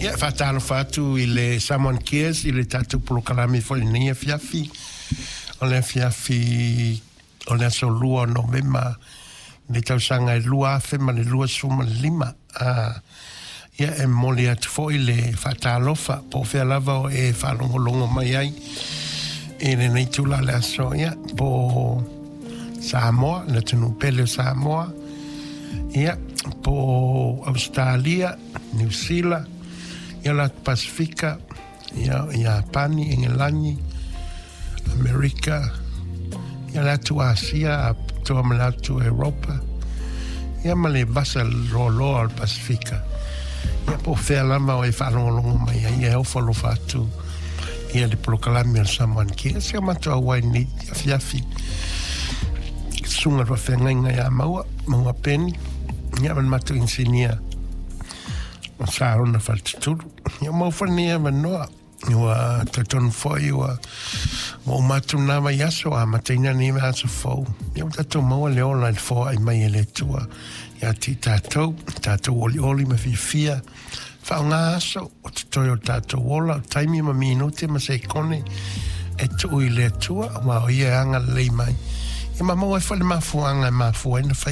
Ia, e faatalofa atu i le Samoan Cares i le tatou polokalame foi i lenei afiafi. O le afiafi o le aso 2 o Novema i le tausaga e 2025. Ia, e momoli atu foi le faatalofa po o fea lava o e faalogologo mai ai i lenei itula o le aso, ia, po o Samoa, le atunuu pele o Samoa, ia, po o Ausetalia, Niu Sila, ia, le atu Pasifika, ia, Iapani, Engelani, Amerika, ia, le atu Asia, atoa ma le atu Europa, ia, ma le vasa loaloa o le Pasifika. Ia, po o fea lava o e faalogologo mai ai, e ofo alofa atu ia le polokalame o le Samoan Cares. Se o matou auai lenei afiafi, susuga i le faafeagaiga ia Maua, Maua Peni, ia ma le matou inisinia o Sarona Faletutulu. Ia, maua foi lenei avanoa. Ua talitonu foi ua uma atu lena vaiaso, amataina lenei vaiaso fou. Ia, ua tatou maua le ola i le foai mai e le Atua ia te i tatou, tatou olioli ma fiafia. Faaaoga aso o totoe o le tatou ola, o taimi ma minute ma sekone e tuu i le Atua, aua o ia e agalelei mai. Ia ma maua ai foi le mafuaaga e mafua ai ona fai